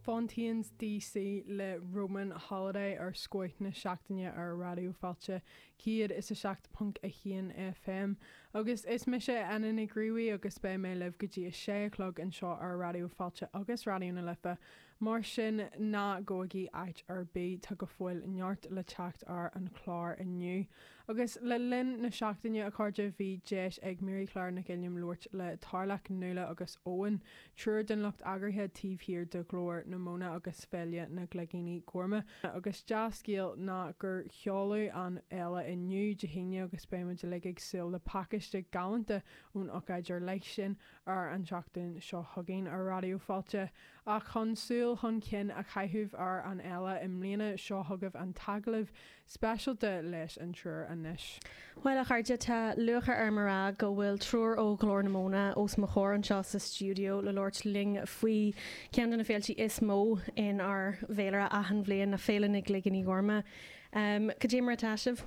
Fontaines DC le Roman Holiday ar Scoth na Seachtaine ar Raidió Fáilte 107.1 FM. Agus is mise Anna Nic Ruairí agus beidh mé libh go dtí a sé a chlog anseo ar Raidió Fáilte agus Raidió na Life. Mar sin, ná gabhaigí áit ar bith, tá go fóill neart le teacht ar an chlár inniu. Agus le linn na seachtaine, a chairde, bhí deis ag Mary Claire Nic Uilliam labhairt le Tarlach, Nuala agus Eoin, triúr den lucht eagraithe taobh thiar de Ghlór na Móna agus Féile na gCloigíní Gorma. Agus dea-scéal ná gur seoladh an fhéile inniu, Dé hAoine, agus beidh muid uilig ag súil le pacáiste galánta ón ócáid ar leith sin ar an tseachtain seo chugainn ar Raidió Fáilte. Ach chun súil chun cinn a chaitheamh ar an fhéile i mbliana, seo chugaibh an t-agallamh speisialta leis an triúr anois. Bhuel, a chairde, tá lúcháir orm a rá go bhfuil triúr ó Ghlór na Móna os mo chomhair anseo sa stiúideo le labhairt linn faoi cheann de na féiltí is mó inár bhféilire achan bhliain, ná Féile na gCloigíní Gorma. Cad é mar atá sibh?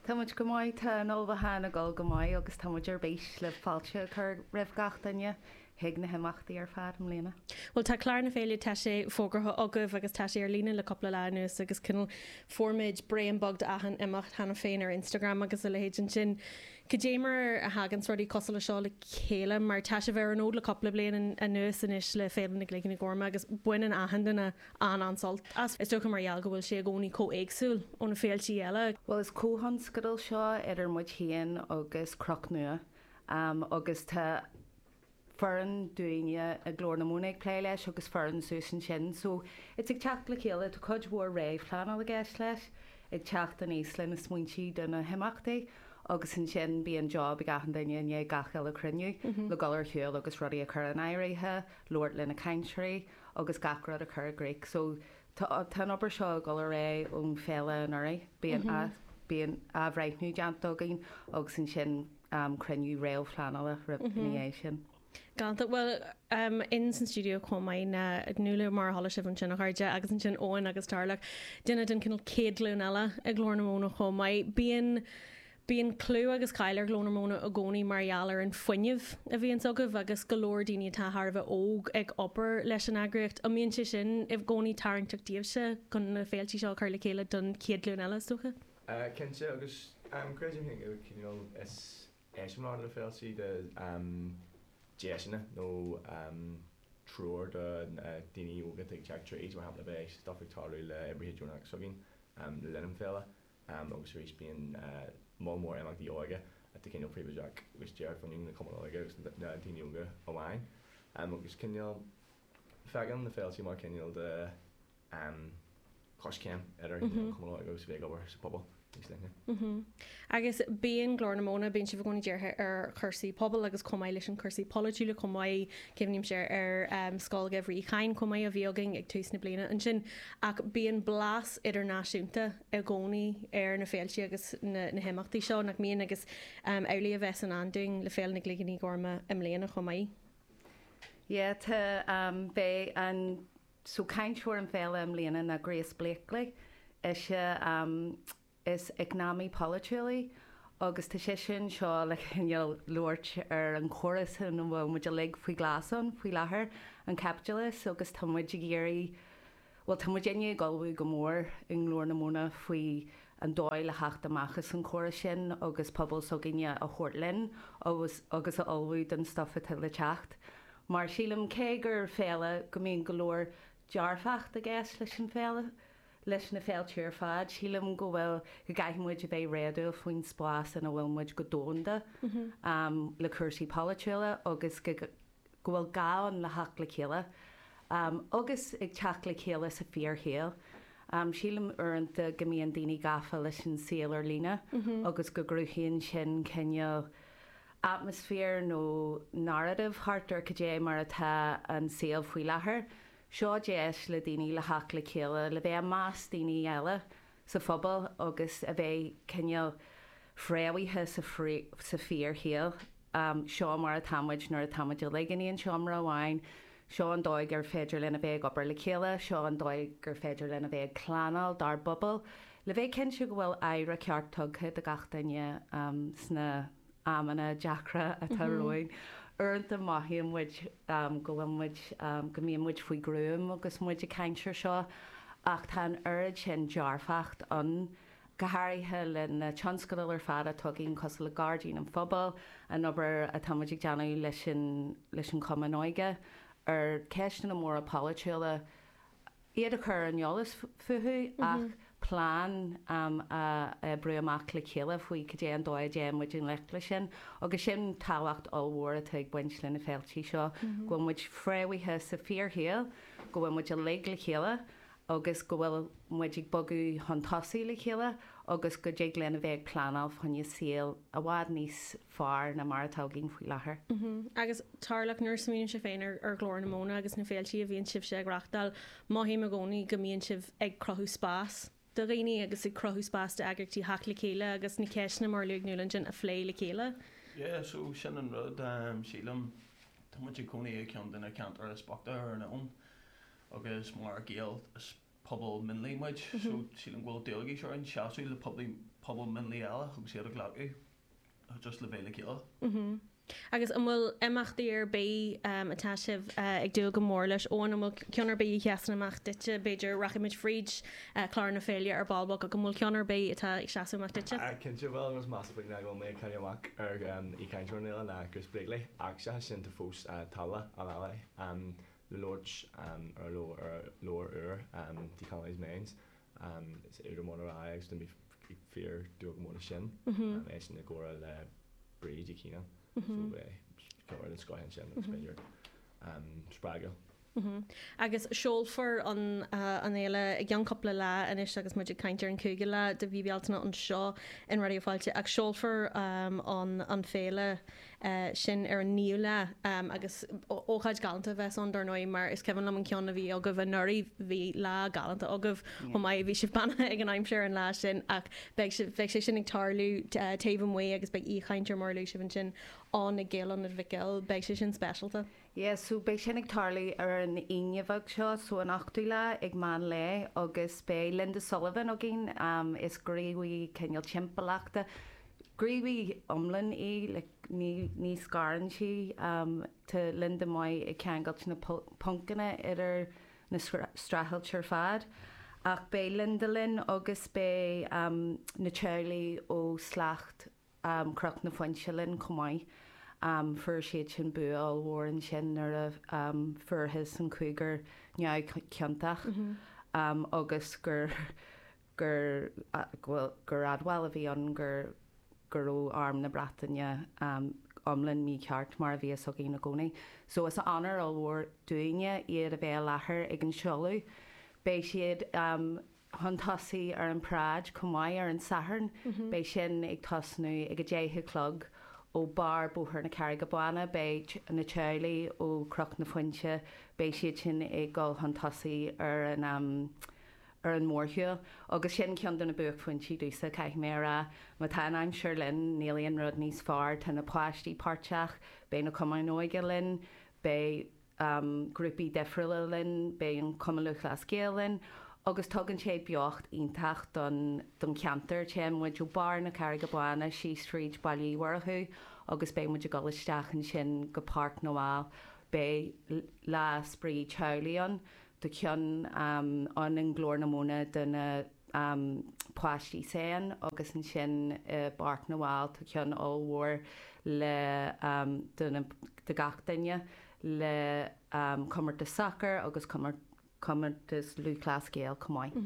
Tá muid go maith, tá an ullmhúchán ag dul go maith agus tá muid ar bís le fáilte a chur roimh gach duine chuig na himeachtaí ar fad i mbliana. Bhuel tá clár na féile, tá sé fógartha agaibh agus tá sé ar líne le cúpla lá anuas agus cineál fuair muid braon beag d'achan imeacht cheana féin ar Instagram agus a leithéid ansin. Cad é mar a thaganns rudaí cosúil le seo le chéile mar tá sibh ar an fhód le cúpla bliain anuas anois le Féile na gCloigíní Gorma agus baineann achan duine an-an-sult as. Is dócha mar gheall go bhfuil sé i gcónaí chomh éagsúil ó na féiltí eile. Bhuel is comhthionscadal seo idir muid féin agus Cnoc Nua agus tá foireann dúinne i Glór na Móna ag plé leis agus foireann suas ansin so it's ag teacht le chéile, tá cuid mhór réamhphleanáil i gceist leis, ag teacht aníos le na smaointe do na himeachtaí agus ansin bíonn job ag achan duine i ndiaidh gach uile chruinniú le dul ar shiúl agus rudaí a chur in áirithe, labhairt le na cainteoirí agus gach rud a chur i gcrích. So tá tá an obair seo ag dul ar aghaidh ón féile anuraidh. Bíonn bíonn athbhreithniú déanta againn agus ansin cruinniú réamhphleanála roimh ina dhiaidh sin. Galánta. Bhuel, in san stiúideo chomh maith ná Nuala mar a chuala sibh ansin a chairde agus ansin Eoin agus Tarlach, duine den cineál chéad ghlúin eile i Glór na Móna chomh maith. Bíonn Bíonn clú agus cáil ar Ghlór na Móna i gcónaí mar gheall ar an fuinneamh a bhíonns agaibh agus go leor daoine atá thar a bheith óg ag obair leis an eagraíocht. An mbíonn sé sin i gcónaí tarraingteach daoibhse chun na féiltí seo a chur le chéile don chéad ghlúin eile, is dócha? Cinnte, agus creidim féin go cineál is eiseamláir na féiltí de deiseanna nó treoir do daoine óga atá ag teacht tríd, mar shampla beidh stuff ag tarlú le oibrithe deonacha s'againn le linn an féile. Agus arís bíonn moll mór imeachtaí óige atá cineál príobháideach agus díreach bhaineann le cumainn óige agus na daoine óga amháin. Agus cineál feicim na féiltí mar cineál de choiscéim idir an cumann óige agus a bheith ag obair sa phobal níos leithne. Agus bíonn Glór na Móna, bíonn sibh i gcónaí dírithe ar chúrsaí pobail agus chomh maith leis an cúrsaí polaitiúla chomh maith, cuimhnímse ar Scoil Gheimhridh Uí Chadhain chomh maith a bhí againn ag tús na bliana ansin. Ach bíonn blas idirnáisiúnta i gcónaí ar na féiltí agus na himeachtaí seo, nach mbíonn? Agus amhlaidh a bheas i ndán dúinn le Féile na gCloigíní Gorma i mbliana chomh maith. Yeah, tá, beidh an, so cainteoir an féile i mbliana ná Grace Blakeley. Ise, is eacnamaí polaitiúil í agus tá sise anseo le cineál labhairt ar an chóras ina bhfuil muid uilig faoi ghlas ann faoi láthair, an caipitleachas, agus tá muid ag iarraidh, bhuel tá muidinne ag ullmhú go mór i nGlór na Móna faoi an dóigh le theacht amach as an chóras sin agus pobal s'againne a thabhairt linn agus agus a ullmhú don stuff atá le teacht. Mar sílim cé gur féile go mbíonn go leor dearfacht i gceist leis an féile, leis na féilte ar fad, sílim go bhfuil, go gcaithfidh muid a bheith réadúil faoin spás ina bhfuil muid go domhanda le cúrsaí polaitiúla agus go go bhfuil gá ann le theacht le chéile agus ag teacht le chéile sa fíorshaol. Sílim uaireanta go mbíonn daoine gafa leis an saol ar líne agus go gcruthaíonn sin cineál atmaisféar nó narrative thart ar cad é mar atá an saol faoi láthair. Seo deis le daoine le theacht le chéile, le bheith i measc daoine eile sa phobal agus a bheith cineál fréamhaithe sa fíorshaol. Seo mar atá muid nuair atá muid uilig in aon seomra amháin. Seo an dóigh gur féidir linn a bheith ag obair le chéile, seo an dóigh gur féidir linn a bheith ag pleanáil dár bpobal, le bheith cinnte go bhfuil aire ceart tugtha do gach duine sna amanna deacra atá romhainn. Uaireanta mothaíonn muid go bhfuil muid, go mbíonn muid faoi ghruaim agus muid ag caint ar seo ach tá an oiread sin dearfacht ann, go háirithe le na tionscadail ar fad atá againn cosúil le Gairdín an Phobail, an obair atá muid ag déanamh leis an leis an Chumann Óige ar cheisteanna móra polaitiúla. iad a chur ar an eolas fúthu ach plean a oibriú amach le chéile faoi cad é an dóigh a dtéann muid i ngleic leis sin. Agus sin tábhacht ollmhór atá ag baint le na féiltí seo, go bhfuil muid fréamhaithe sa fíorshaol, go bhfuil muid uilig le chéile agus go bhfuil muid ag bogadh chun tosaigh le chéile agus go dtig linn a bheith ag pleanáil fá choinne saol i bhfad níos fearr ná mar atá againn faoi láthair. Agus Tarlach, nuair a smaoinímse féin ar Ghlór na Móna agus na féiltí a bhíonn sibhse ag reachtáil, mothaím i gcónaí go mbíonn sibh ag cruthú spás do dhaoine agus ag cruthú spás d'eagraíochtaí theacht le chéile agus na ceisteanna mar a luaigh Nuala ansin a phlé le chéile. Yeah, so sin an rud, sílim. Tá muid ag cónaí i gceann de na ceantair is boichte ar an oileán agus mar Gaeil is pobal mionlaigh muid, so sílim go bhfuil dualgas orainn seasamh le pobal mionlaigh eile agus iad a ghlacadh. just le bheith le chéile. Agus an bhfuil imeachtaí ar bith atá sibh ag dúil go mór leis? Eoin, an bhfuil ceann ar bith a sheasann amach duitse? B'fhéidir rachaidh muid fríd clár na féile ar ball beag ach an bhfuil ceann ar bith atá ag seasamh amach duitse? Cinnte, bhuel, an rud is measa faoi ná go bhfuil mé ag cailleadh amach ar aoichainteoir na féile ná Grace Blakeley ach seachas sin tá fós Tala Al-Ali le labhairt ar leabhar úr Decolonise Minds. Is údar mór le rá é agus tá mé ag fíor dúil go mór leis sin. Eisean i gcomhrá le Bríd Uí Chianáin so beidh comhrá den scoth ansin agus b'fhéidir spreagúil. Agus seolfar an an fhéile i gceann cúpla lá anois agus muid ag caint ar an 5ú lá de mhí Bealtaine anseo in Raidió Fáilte ach seolfar an an féile sin ar an 9ú lá agus ócáid galánta a bheas ann dar ndóigh mar is cuimhin liom an ceann a bhí agaibh anuraidh, bhí lá galánta agaibh chomh maith, bhí sibh beannaithe ag an aimsir an lá sin ach beidh sibh, beidh sé sin ag tarlú taobh amuigh agus beidh aoichainteoir mar a luaigh sibh ansin ann i Gaelionad Mhic Gill, beidh sé sin speisialta. Yeah, so beidh sin ag tarlú ar an Aoine bheag seo, so an 8ú lá ag meán lae agus beidh Linda Sullivan againn, is gníomhaí cineál timpeallachta, gníomhaí iomlán í, like ní, ní scarann sí, tá Linda maith ag ceangailt na poncanna idir na streachailt ar fad. Ach beidh Linda linn agus beidh na teaghlaigh ó Slacht Chnoc na Foinse linn chomh maith. Fuair siad sin bua ollmhór ansin nuair a fuarthas an cúigear neamhchiontach agus gur gur gur admháil a bhí ann gur go raibh Arm na Breataine iomlán mícheart mar a bhí fhios againn i gcónaí. So is onóir ollmhór dúinne iad a bheith i láthair ag an seoladh. Beidh siad chun tosaigh ar an bparáid chomh maith ar an Satharn. Beidh sin ag tosnú ag 10 a chlog ó barr Bóthar na Carraige Báine. Beidh na teaghlaigh ó Chnoc na Foinse, beidh siad sin ag dul chun tosaigh ar an ar an mórshiúl. Agus sin ceann de na buaicphointí domhsa, caithfidh mé a rá. Má tá an aimsir linn, níl aon rud níos fearr. Tá na páistí páirteach, beidh na cumainn óige linn, beidh. grúpaí difriúla linn, beidh an Cumann Lúthchleas Gael linn agus tugann sé beocht iontach don don cheantar. Téann muid ó barr na Carraige Báine síos fríd Baile Uí Mhurchú agus beidh muid ag dul isteach ansin go Páirc na bhFál. Beidh lá spraoi teaghlaigh ann, tá ceann ann i nGlór na Móna do na páistí s'againne agus ansin i bPáirc na bhFál tá ceann ollmhór le do na do gach duine le comórtas sacair agus comórtas lúthchleas Gael chomh maith.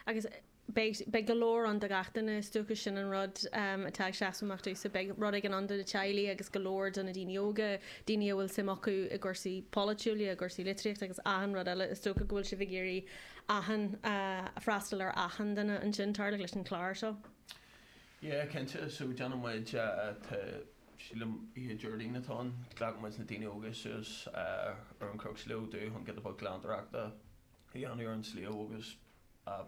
Agus beidh beidh go leor ann do gach duine is dócha sin an rud atá ag seasamh amach domhsa beidh rud éigin ann do na teaghlaigh agus go leor do na daoine óga, daoine a bhfuil suim acu i gcúrsaí polaitiúla, i gcúrsaí litríochta agus achan rud eile is dócha go bhfuil sibh ag iarraidh achan, freastal ar achan duine ansin, Tarlach, leis an chlár seo. Yeah, cinnte. So déanann muid, tá, sílim, oíche Déardaoin atá ann, glacann muid na daoine óga suas ar an Chnoc Sliabh Dubh chun giota beag glantóireachta a dhéanamh ar an sliabh agus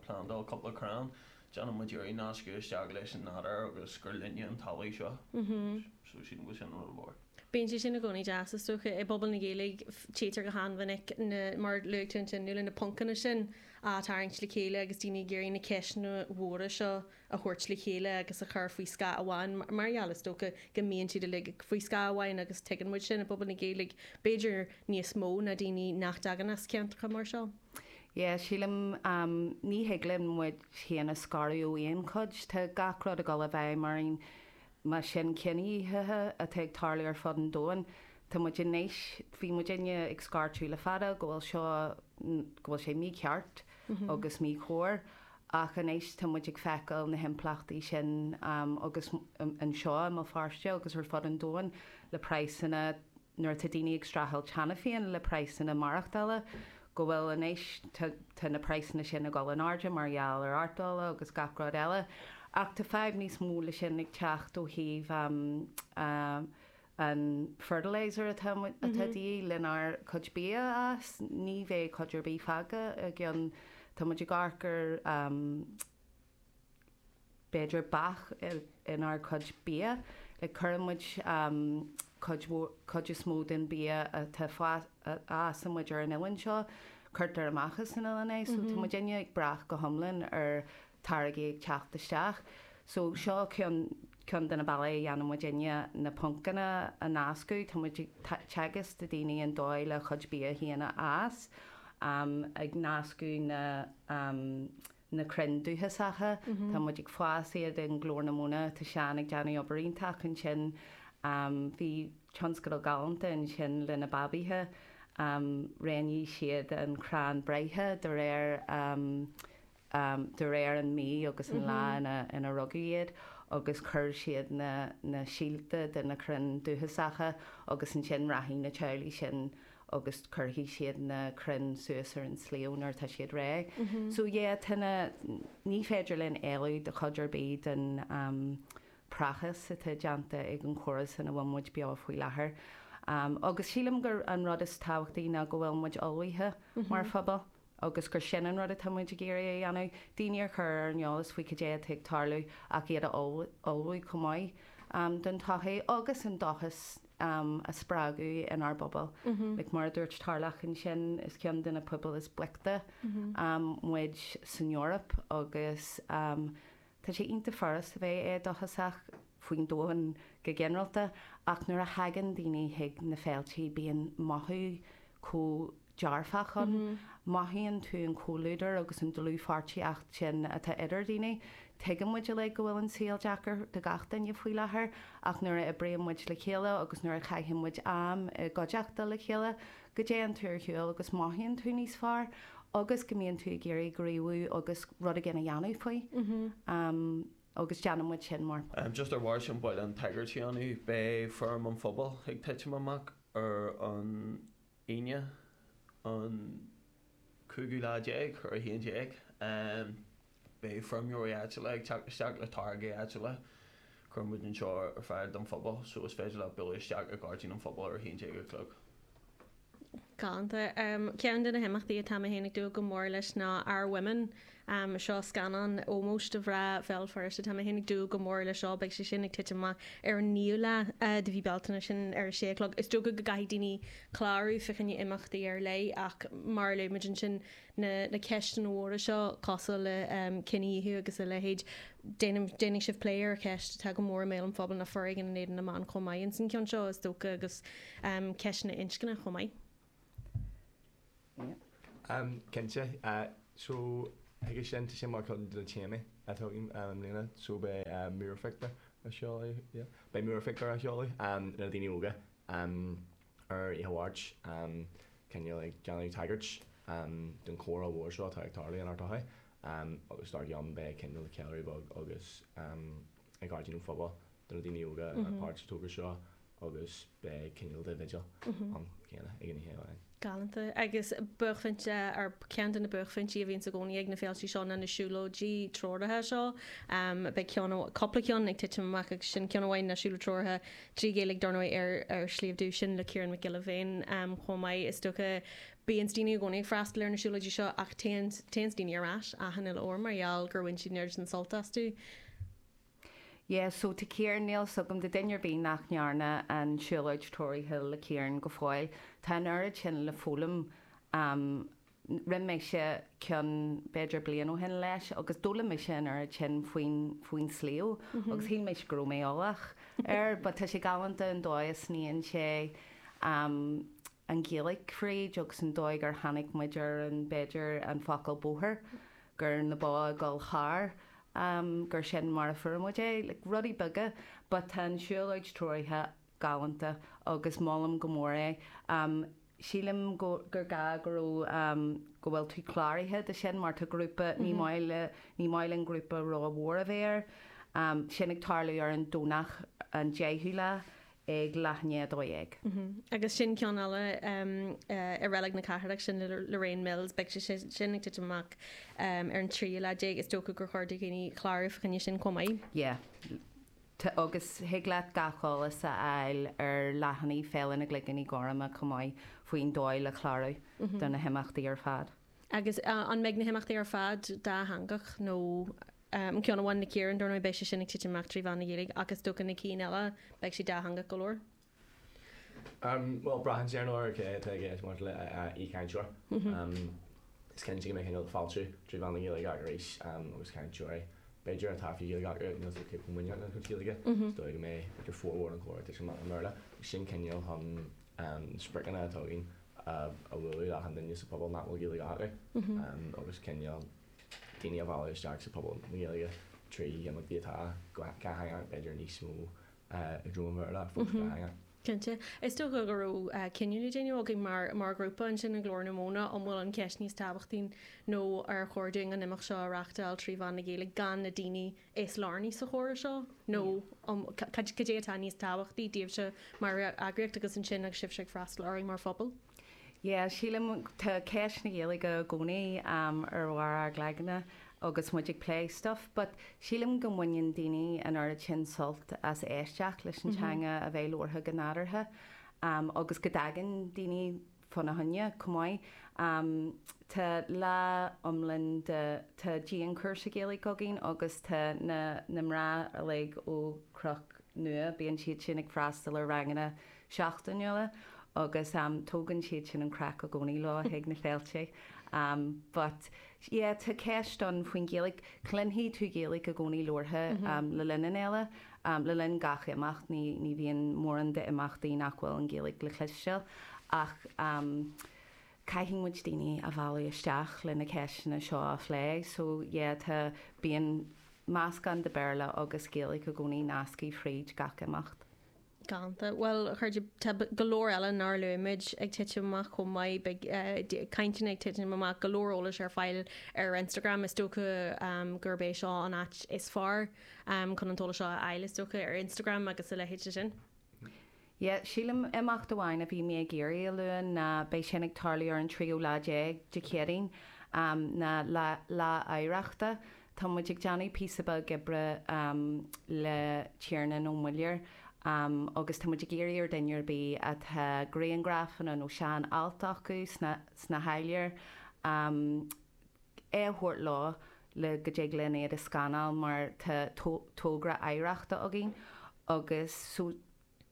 plandáil cúpla crann. Déanann muid iarraidh nascadh isteach leis an nádúr agus gur linne an talamh seo. So sílim go bhfuil sin rud mhór. Bíonn sé sin i gcónaí deas, is dócha. I bpobal na Gaeilge, tchítear go han-mhinic na, mar a luaigh tú ansin, Nuala, na poncanna sin á tarraingt le chéile agus daoine ag iarraidh na ceisteanna mhóra seo a thabhairt le chéile agus a chur faoi scáth amháin, mar gheall, is dócha, go mbíonn siad uilig faoi scáth amháin agus tuigeann muid sin i bpobal na Gaeilge, b'fhéidir níos mó ná daoine nach dtagann as ceantracha mar seo. Yeah, sílim, ní thig linn muid féin a scaradh ó aon chuid. Tá gach rud ag dul i bhfeidhm orainn mar sin cinedhíothaithe atá ag tarlú ar fud an domhain. Tá muid anois, bhí muidinne ag scairteadh le fada go bhfuil seo, go bhfuil sé mícheart agus míchóir ach anois tá muid ag feiceáil na himpleachtaí sin agus anseo i mBéal Feirste agus ar fud an domhain le praghsanna, nuair atá daoine ag streachailt cheana féin le praghsanna maireachtála, go bhfuil anois, tá na praghsanna sin ag dul in airde mar gheall ar ardola agus gach rud eile. Ach tá fadhb níos mó le sin ag teacht ó thaobh an fertilizer atá atá de dhíth lenár cuid bia a fhás. Ní bheidh cuid ar bith fágtha i gceann, tá muid ag amharc ar b'fhéidir bac inár gcuid bia. Like cuireann muid cuid mhór, cuid is mó den bia atá a fhásann muid ar an oileán seo, cuirtear amach as an oileán é. So tá muidinne ag brath go hiomlán ar táirgí ag teacht isteach. So seo ceann, ceann de na bealaí a dhéanann muidinne na poncanna a nascadh. Tá muid ag teagasc do daoine an dóigh le a chuid bia féin a fhás, ag nascadh na na crainn dúchasacha. Tá muid ag fás iad i nGlór na Móna. Tá Seán ag déanamh obair iontach ansin. Bhí tionscadal galánta ansin le na babaithe. Roghnaigh siad an crann breithe de réir de réir an mí agus an lá ina ina rugadh iad agus chuir siad na na síolta de na crainn dúchasacha agus ansin rachaidh na teaghlaigh sin agus cuirfidh siad na crainn suas ar an sliabh nuair atá siad réidh. So yeah, tá na, ní féidir linn éalú de chuid ar bith den praghas atá déanta ag an chóras ina bhfuil muid beo faoi láthair. Agus sílim gur an rud is tábhachtaí ná go bhfuil muid ullmhaithe mar phobal. agus gur sin an rud atá muid ag iarraidh a dhéanamh, daoine a chur ar an eolas faoi cad é atá ag tarlú ach iad a ullmhú chomh maith don todhchaí agus an dóchas a spreagadh inár bpobal. Like mar a dúirt Tarlach ansin, is ceann de na pobail is boichte muid san Eoraip agus tá sé iontach furast a bheith éadóchasach faoin domhan go ginearálta ach nuair a thagann daoine chuig na féiltí bíonn mothú chomh dearfach ann. Mothaíonn tú an comhluadar agus an dlúthpháirtíocht sin atá idir daoine. Tuigeann muid uilig go bhfuil an saol deacair do gach duine faoi láthair ach nuair a oibríonn muid le chéile agus nuair a chaitheann muid am i gcuideachta le chéile, go dtéann tú ar shiúl agus mothaíonn tú níos fearr agus go mbíonn tú ag iarraidh gníomhú agus rud éigin a dhéanamh faoi. Agus déanann muid sin mar. Just ar bharr sin ba mhaith liom tagairt a dhéanamh, beidh Feirm an Phobail ag titim amach ar an Aoine an cúigiú lá déag ar a haon déag. Beidh feirmeoirí áitiúla ag teacht isteach le táirgí áitiúla. Cuireann muid anseo ar fáil don phobal so is féidir leat bualadh isteach i Gairdín an Phobail ar a haon déag a chlog. Galánta. Ceann de na himeachtaí atá mé féin ag dúil go mór leis ná Our Women. Seo scannán ómóis do mhná Bhéal Feirste. Tá mé féin ag dúil go mór leis seo. Beidh sé sin ag titim amach ar an naoú lá de mhí Bealtaine, sin ar a sé a chlog. Is dócha go gcaithfidh daoine clárú fá choinne imeachtaí ar leith ach mar a luaigh muid ansin, na na ceisteanna mhóra seo cosúil le cinedhíothú agus a leithéid, déanfaidh sibh plé ar cheist atá go mór i mbéal an phobail ná foréigean in éadan na mban chomh maith ins an cheann seo is dócha agus ceisteanna inscne chomh maith. Cinnte. So, chuige sin, tá sé mar chuid de na téamaí atá againn i mbliana. So, beidh múrphictiúr á sheoladh, yeah, beidh múrphictiúr á sheoladh le daoine óga ar Oíche Mháirt, cineál ag déanamh tagairt don chomhrá mhór seo atá ag tarlú inár tsochaí. Agus dár gcionn beidh cineál ceiliúradh beag agus ag Gairdín an Phobail do na daoine óga ar páirt sa togra seo. agus beidh cineál de bhigil ann céanna ag an oíche amháin. Galánta. Agus buaicphointe, ar ceann de na buaicphointí a bhíonns i gcónaí ag na féiltí seo ná na siúlóidí treoraithe seo. Beidh ceann, cúpla ceann ag titim amach agus sin ceann amháin ná siúlóid treoraithe trí Ghaeilge dar ndóigh ar ar Shliabh Dubh sin le Ciarán Mac Giolla Bhéin chomh maith. Is dócha bíonns daoine i gcónaí ag freastal ar na siúlóidí seo ach téann téanns daoine ar ais achan uile uair mar gheall gur bhain siad an oiread sin sult astu. Yeah, so tá Ciarán, níl 's agam do duine ar bith nach ndearna an siúlóid treoraithe le Ciarán go fóill, tá an oiread sin le foghlaim. Um, rinne mise ceann b'fhéidir bliain ó shin leis agus d'fhoghlaim mise an oiread sin faoin, faoin sliabh agus shíl mise go raibh mé eolach air but tá sé galánta an dóigh a sníonn sé um, an Ghaeilge fríd agus an dóigh gur tháinig muid ar an, b'fhéidir, an focal bóthar, gur na ba ag dul thar, gur sin mar a fuair muid é, like rudaí beaga but tá an siúlóid treoraithe galánta agus molaim go mór é. Sílim go, gur gá go raibh, go bhfuil tú cláraithe do sin mar tá grúpa, ní maith le, ní maith linn grúpa ró-mhór a bheith air. Sin ag tarlú ar an Domhnach an 10ú lá ag leath i ndiaidh 12. Agus sin ceann eile i Reilig na Cathrach, sin le Lorraine Mills, beidh sé sin ag titim amach ar an tríú lá déag. Is dócha gur chóir do dhaoine clárú fá choinne sin chomh maith. Yeah. Agus thig leat gach eolas a fháil ar leathanaigh Féile na gCloigíní Gorma chomh maith faoin dóigh le clárú do na himeachtaí ar fad. Agus an mbeidh na himeachtaí ar fad dátheangach nó an ceann amháin le Ciarán, dar ndóigh, beidh sé sin ag titim amach trí mheán na Gaeilge ach is dócha na cinn eile, beidh siad dátheangach go leor? Bhuel, braitheann sé ar ndóigh ar cé atá i gceist maidir le aoichainteoir. Is cinnte go mbeidh cineál fáiltiú trí mheán na Gaeilge acu arís agus cainteoirí b'fhéidir atá faoi Ghaeilge acu níl siad chomh muiníneach lena gcuid Gaeilge. Is dóigh go mbeidh b'fhéidir formhór an chomhrá ag titim amach i mBéarla. Sin cineál chun spriocanna atá againn a bhualadh le achan duine sa phobal nach bhfuil Gaeilge acu agus cineál daoine a mhealladh isteach sa phobal na Gaeilge trí imeachtaí atá dátheangach, b'fhéidir níos mó i dtreo an Bhéarla ach fós dátheangach. Cinnte. Is dócha go raibh cinneadh le déanamh agaibh mar mar ghrúpa ansin i nGlór na Móna an bhfuil an cheist níos tábhachtaí nó ar chóir dúinn an imeacht seo a reáchtáil trí mheán na Gaeilge gan na daoine is lárnaí sa chomhrá seo nó cad é atá níos tábhachtaí daoibhse mar eagraíocht agus ansin agus sibhse ag freastal orainn mar phobal? Yeah, sílim, tá ceist na Gaeilge i gcónaí ar bharr ár gcloigne agus muid ag plé stuff but sílim go mbaineann daoine an oiread sin sult as éisteacht leis an teanga a bheith labhartha go nádúrtha agus go dtagann daoine fána choinne chomh maith. Tá lá iomlán de, tá dianchúrsa Gaeilge againn agus tá na na mná uilig ó Chnoc Nua, bíonn siad sin ag freastal ar ranganna seachtainiúla agus tógann siad sin an craic i gcónaí leo chuig na féilte. But yeah tá ceist ann faoin Ghaeilge, cluinfidh tú Gaeilge i gcónaí labhartha le linn an fhéile. Le linn gach imeacht, ní ní bhíonn mórán d'imeachtaí nach bhfuil an Ghaeilge le cloisteáil ach caithfidh muid daoine a mhealladh isteach le na ceisteanna seo a phlé so yeah tá, bíonn meascán de Béarla agus Gaeilge i gcónaí nasctha fríd gach imeacht. Galánta. Bhuel, a chairde, tá go leor eile nár luaigh muid ag titim amach chomh maith. Beidh cainteanna ag titim amach, go leor eolais ar fáil ar Instagram. Is dócha gurb é seo an áit is fearr chun an t-eolas seo a fháil, is dócha, ar Instagram agus a leithéid de sin. Yeah, sílim imeacht amháin a bhí mé ag iarraidh a lua ná beidh sin ag tarlú ar an tríú lá déag Dé Céadaoin, ná Lá Lá Oidhreachta. Tá muid ag déanamh píosa beag oibre le Tiarnán Ó Muilleoir agus tá muid ag iarraidh ar duine ar bith atá grianghrafanna nó sean alt acu sna sna háiléir é a thabhairt leo le go dtig linn iad a scanáil mar tá togra oidhreachta againn agus so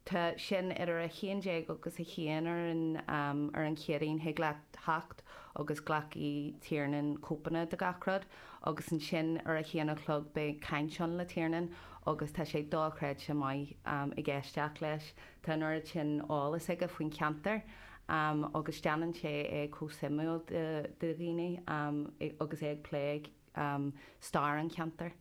Tá sin idir 11 agus 1 ar an ar an Chéadaoin. Thig leat theacht agus glacfaidh Tiarnán cóipeanna de gach rud agus ansin ar a haon a chlog beidh caint ann le Tiarnán agus tá sé dochreidte maith ag éisteacht leis. Tá an oiread sin eolas aige faoin cheantar agus déanann sé é chomh suimiúil do dhaoine agus é ag plé stair an cheantair.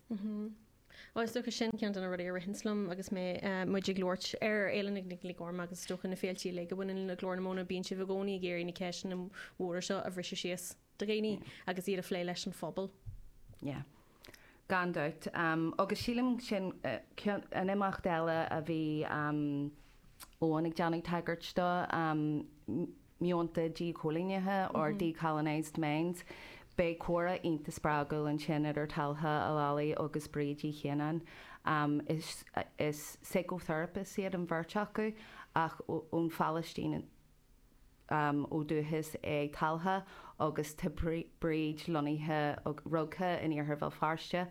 Bhuel, is dócha sin ceann de na rudaí a ritheanns liom agus mé, muid ag labhairt ar Fhéile na gCloigíní Gorma agus is dócha na féiltí uilig a bhaineann le Glór na Móna, bíonn sibh i gcónaí ag iarraidh na ceisteanna móra seo a bhriseadh síos do dhaoine agus iad a phlé leis an phobal. Yeah. Gan dabht. Agus sílim sin an imeacht eile a bhí Eoin ag déanamh tagairt dó, Meonta Díchoilínithe or Decolonised Minds. Beidh comhrá iontach spreagúil ansin idir Talha Al-Ali agus Bríd Uí Chianáin. Is is psychotherapists iad an bheirt acu ach ón Phalaistín ó dúchas é Talha agus tá Bríd lonnaithe, rugtha in Iarthar Bhéal Feirste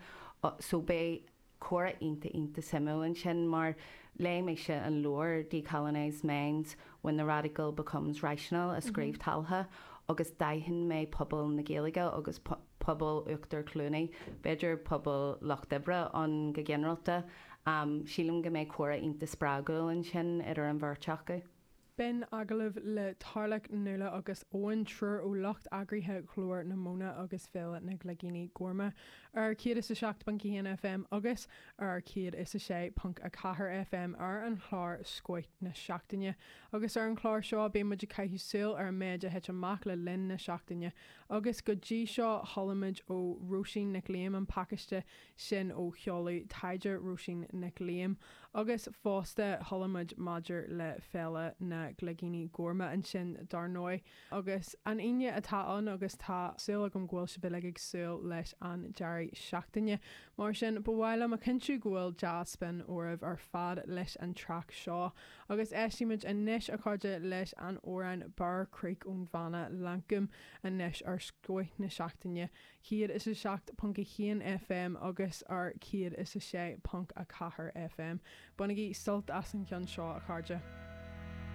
so beidh. Comhrá iontach iontach suimiúil ansin mar léigh mise an leabhar Decolonised Minds, When the Radical Becomes Rational a scríobh Talha agus d'aithin mé pobal na Gaeilge agus pobal Uachtar Chluanaí, b'fhéidir pobal lucht oibre ann go ginearálta. Sílim go mbeidh comhrá iontach spreagúil ansin idir an bheirt acu. B'in agallamh le Tarlach, Nuala agus Eoin, triúr ó lucht eagraithe Ghlór na Móna agus Féile na gCloigíní Gorma ar 107.1 FM agus ar 106.4 FM ar an chlár Scoth na Seachtaine. Agus ar an chlár seo bíonn muid ag caitheamh súil ar an méid a thit amach le linn na seachtaine. Agus go dtí seo chuala muid ó Róisín Nic Liam an pacáiste sin ó sheoladh taighde Róisín Nic Liam agus fosta chuala muid maidir le Féile na gCloigíní Gorma ansin dar ndóigh. Agus an Aoine atá ann agus tá súil agam go bhfuil sibh uilig ag súil leis an deireadh seachtaine. Mar sin ba mhaith liom a chinntiú go bhfuil dea-spion oraibh ar fad leis an traic seo. Agus éistimid anois a chairde leis an amhrán Bear Creek ón bhanna Lankum anois ar Scoth na Seachtaine. 107.1 FM agus ar 106.4 FM. Bainigí sult as an cheann seo, a chairde.